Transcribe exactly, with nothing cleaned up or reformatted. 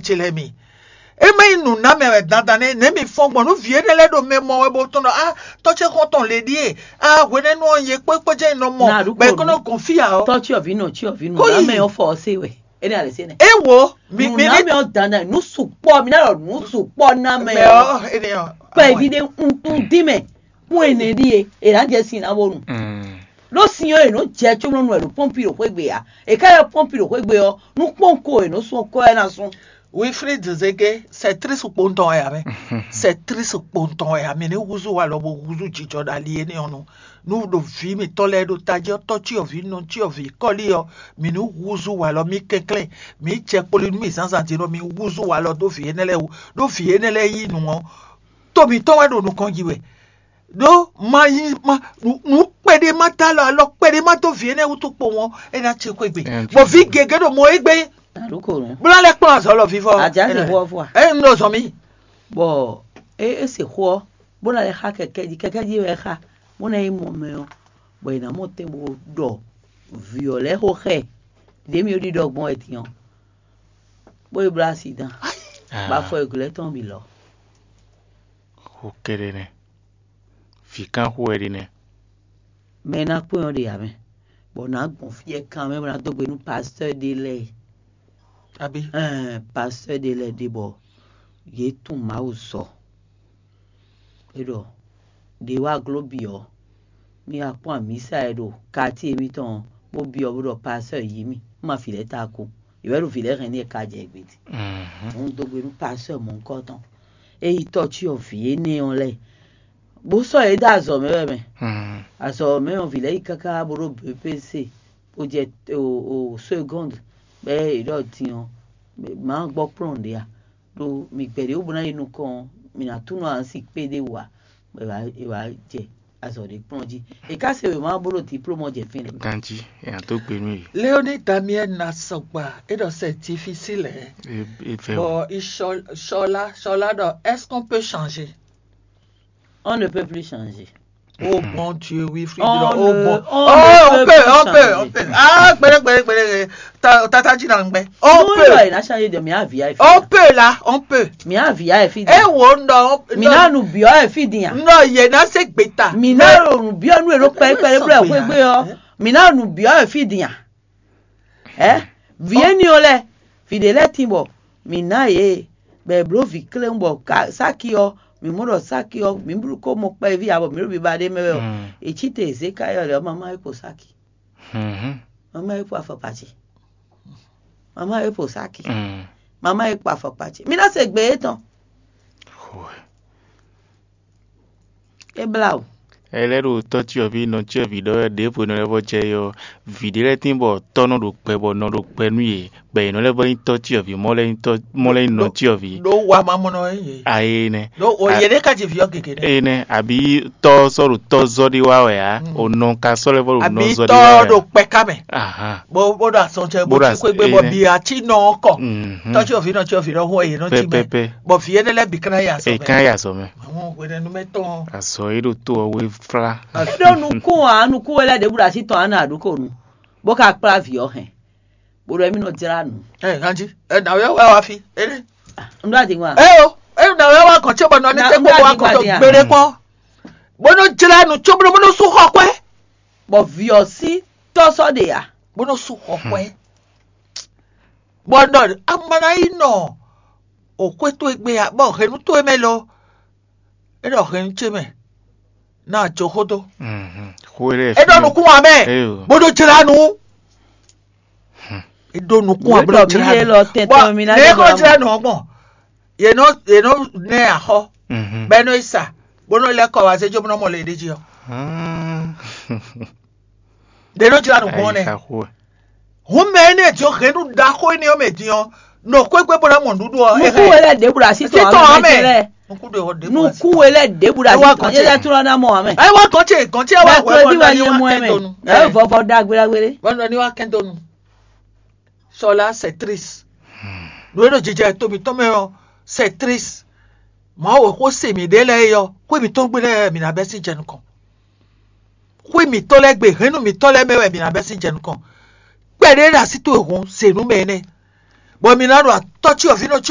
ce lɛ́ɛ mi. É má nyí nǔnámɛ wɛ dandan nɛ́, nɛ̌ mi fɔ́n gbɔn nú vǐ énɛ́ lɛ́ɛ ɖo mɛ mɔ wɛ bó tɔn ɖɔ á tɔ́ ce xɔ́ntɔn le ɖíe, á hwenɛ́nu ɔ́ nyɛ kpó kpó jɛ́n nɔ mɔ, bɔ è kó nɔ gɔn fí ǎ ɔ́. Tɔ́ cyɔvǐ nɔ cyɔvǐ nǔnámɛ ɔ́ fɔ ɔ́ se wɛ. É ní alɛ se nɛ. É wo mi mi ní Nǔnámɛ ɔ́ dandan nǔ sukpɔ mi ná ɖɔ nǔ sukpɔ ná mɛ mɛ ɔ́. Ɔ́ énɛ́ ɔ́. Kpɛví ɖé un dín mɛ kún ɛnɛ ɖíe è nǎ jɛ sin ná bónu. Ɖó sin ɔ́ è nɔ jɛ cómlɔ́nu wɛ ɖo pɔ́npi ɖo xwé gbe ǎ. È ká yɔ pɔ́npi ɖo xwé gbe ɔ́, nú kpɔ́n ko è nɔ sún ɔ́ kɔ ɛ ná sún. Wilfrid Zege, c'est triste kpowun tɔn wɛ ǎ mɛ. C'est triste kpowun tɔn wɛ ǎ, mi ní húzú walɔ bó húzú jijɔ ɖo ali énɛ́ ɔ́ nu. Nú ɖo vǐ mǐtɔn lɛ́ɛ ɖo tají ɔ́, tɔ́ cyɔvǐ, nɔ cyɔvǐ, kɔ́lí ɔ́, mǐ ní húzú walɔ, mì kɛnklɛ́n, mǐ jɛ kpoli nú mì zǎnzǎn din ɖɔ mi húzú walɔ dó vǐ énɛ́ lɛ́ɛ wú, ɖó vǐ énɛ́ lɛ́ɛ yí nǔ ɔ́, to mǐtɔn wɛ ɖo nukɔn ji wɛ. Ɖó ma nyí ma nǔ kpɛɖé ma dó alɔ alɔ kpɛɖé ma dó vǐ énɛ́ wútu kpowun ɔ́, é ná cí xwé gbe. Bɔ vǐ gěgé ɖo mɔ égbé. Bó ná lɛ́ kplɔ́n azɔ̌ lɔ vívɔ. Ajá se xó ɔ́ fɔ a? Ɛ un ɖo zɔn mì. Bɔ é é se xó ɔ́, bó ná lɛ́ xa kɛkɛ́ jí, kɛkɛ́ jí wɛ é xa, bó ná yi mɔ mɛ ɔ́, bɔ è nǎ mɔ tɛn bó ɖɔ vǐ ɔ́ lɛ́ɛ xó xɛ ɖě mì ɖiɖɔ gbɔn wɛ din ɔ́, bó yi bló asi dán, bɔ afɔ e glɛ́ tɔn bǐ lɔ. Xó kɛ́ɖɛ́ nɛ́. Vǐ kán xó wɛ ɖe nɛ́. Mɛ e ná kpɔ́n ɔ́ ɖe ǎ mɛ, bɔ nǎ gbɔn fí ɛ kan mɛ bó ná dó gbe nú pastɔ́ ɖé lɛ́ɛ. Abí? Ɛn pastɔ́ ɖé lɛ́ɛ ɖe bɔ yě tunwun Mawu sɔ. É ɖɔ ɖě wá gló bǐ ɔ́, mì wá kpɔ́n amǐsa e ɖo katíe mitɔn ɔ́, bó byɔ́ bó ɖɔ pastɔ́ yǐ mì, un ma vǐ lɛ́ɛ ta kú. Yě wɛ ɖo vǐ lɛ́ɛ hɛn n'i e ka jɛ gbě din. Un dó gbe nú pastɔ́ mɔ̌hunkɔtɔn. É yi tɔ́ cyɔ vǐ énɛ́ ɔ́ lɛ́ɛ, bó sɔ́ yě dó azɔ̌ mɛ wɛ mɛ. Azɔ̌ mɛ ɔ́, vǐ lɛ́ɛ yi káká bó ɖó B P C, bó jɛ o o seconde, bɔ é ɖɔ din ɔ́, má gbɔ kplɔ́n ɖě a? Ɖó mì gbɛ̌ ɖě wú bó ná yi nukɔn ɔ́, mì nǎ tunɔ asi kpéɖé wú ǎ, bɔ è wǎ è wǎ jɛ azɔ̌ ɖé kplɔ́n jí. È ká se wěma ɔ́ bó ɖo diplôme ɔ́ jɛ fínɛ́. Ganjí è nǎ dó gbe nú yě. Léonie Damiel ná sɔgba, é ɖɔ c'est difficile, hein. É é vɛ Bon, il Cho- Chola, Chola ɖɔ, est-ce qu'on peut changer? On ne peut plus changer. Oh mon Dieu, oui, frère. On Oh ne- bon. on Oh, ne on peut peut, plus on peut, changer. On peut. Ah, gbélé, gbélé, gbélé. Ta- Tata Djinangbé. On Nous, peut. Il a changé de mia via. On peut là, on peut. Mia via e fi Eh, di. Oh non. Mina nu biɔ e fi di a. Non, il y en a c'est bêta. Mina nu biɔ nu elo pɛrɛ pɛrɛ blɛ xwegbe ɔ. Mina nu biɔ e fi di a. Ɛ, vie ni o lɛ, fi de lɛ tin bɔ mi na ye bɛ blo vi kle bɔ ka saki ɔ, mi mɔ ɖɔ saki ɔ mi blu ko mɔ kpɛvi a bɔ mi ɖo biba ɖe mɛ wɛ ɔ. Etsi te eze ka yɔ lɛ ɔ mama e ko saki. Mama e ko afɔkpa ce. Mama e ko saki. Mama e ko afɔkpa ce. Mi na se gbe etɔn. E bla o. Ɛ lɛ́ ɖo tɔ́ cyɔvǐ nɔ cyɔvǐ ɖɔ wɛ ɖěvo nɔ lɛ́ vɔ jɛ yɔ vǐ ɖé lɛ́ɛ tín bɔ tɔ́ nɔ ɖo gbɛ bɔ nɔ ɖo gbɛ nú yě, bɔ yě nɔ lɛ́ vɔ nyí tɔ́ cyɔvǐ mɔ lɛ́ nyí tɔ́ mɔ lɛ́ nyí nɔ cyɔvǐ. Ɖó wa ma mɔ nɔ yí yě. Ayi nɛ. Ɖó o yě ɖé ka ji vǐ ɔ́ gěgé nɛ. Eye nɛ àbí tɔ́ sɔ́ ɖo tɔ́ zɔ́ ɖé wá wɛ ǎ, o nɔ ka sɔ́ lɛ́ vɔ ɖo nɔ Àbí zɔ́ ɖé tɔ́ wá wɛ. Ɖo kpɛ ká mɛ. Ahan. Bó bó ɖo asɔn cɛ Bó bó ɖo ti xwé gbé bɔ bi atí nɔ ɔ́ kɔ. Mhm. Tɔ́ cyɔvǐ nɔ cyɔvǐ nɔ hɔn yě nɔ ci mɛ. Pɛpɛpɛ. Bɔ vǐ énɛ́ lɛ́ bǐ ká ná yi azɔ̌ È mɛ. Kán yi azɔ̌ mɛ. Àwọn hwenɛ́numɛtɔn. Azɔ̌ e ɖo tó ɔ́ wé flá. Ɖó nukún ǎ, nukún wɛ lɛ́ ɖěbǔ ɖo así tɔn á nɔ aɖúkò nu, bó ka kplá vǐ ɔ́ hɛn, bó ɖɔ émí nɔ jlá nǔ. Ɛ ganjí, ɛ nǎwé wɛ wá fi, éɖé. Un ɖó adǐngba. Ɛ o, ɛ nǎwé wá kàn tí bɔ nɔ ní Na- tẹ́ un ɖó gbogbo wá adǐngba kàn tó dín a. Gbére kpɔ́n. Bó nɔ jlá nǔ có bó nɔ bó nɔ sú xɔ kwɛ. Bɔ vǐ ɔ́ sí tɔ́ sɔ́ ɖe ǎ. Bó nɔ sú xɔ kwɛ. Bɔ nɔ amana yi nɔ òkwé tó egbe ǎ, bɔ hɛ̌nnu tó e mɛ lɔ. É ɖɔ hɛ̌nnu ce mɛ ná jǒ xó dó. Xó e lɛ́ɛ É ɖɔ nukún wa mɛ. Eyo. Bó ɖó jlá nu. É ɖó nukún wa bó ɖó jlá nu. Bɔ mi ná jlá nu ɔgbɔn. Yě nɔ yě nɔ nɛ axɔ. Bɛ nɔ yi sa bó nɔ lɛ́ kɔ wá zé jó bó nɔ mɔ le ɖé jí ɔ. Ɖě nɔ jlá nu gbɔn nɛ. Hun mɛ énɛ́ din ɔ́, hɛ̌nnu ɖaxó énɛ́ ɔ́ mɛ din ɔ́, nɔ xwé gbé bó ná mɔ nǔɖuɖu ɔ́. Nukún we lɛ ɖěbǔ ɖo así tɔn amɛ. Nukún we lɛ ɖěbǔ ɖo así tɔn yɛ tlɔ ná mɔ amɛ. Ɛ wá gɔn ce gɔn ce wá wɛ bɔ nɔ ní wá kɛntonu. Ɛ vɔvɔ ɖagbe ɖagbe ɖé. Bɔ nɔ ní wá kɛntonu. Sɔla c'est triste. Nǔ e ɖo jijɛ to mǐtɔn mɛ ɔ́, c'est triste. Mawu xó se mǐ ɖe lɛ́ɛ é ɔ́, xwé mǐtɔn gbe lɛ́ɛ mǐ ná bɛ́ sín jɛ nukɔn. Xwé mǐtɔn lɛ́ɛ gbe hɛ̌nnu mǐtɔn lɛ́ɛ mɛ wɛ mǐ ná bɛ́ sín jɛ nukɔn. Kpɛɖé ɖo así towe hun se nú mɛ énɛ́, bɔ mǐ ná ɖo atɔ́ cyɔvǐ nɔ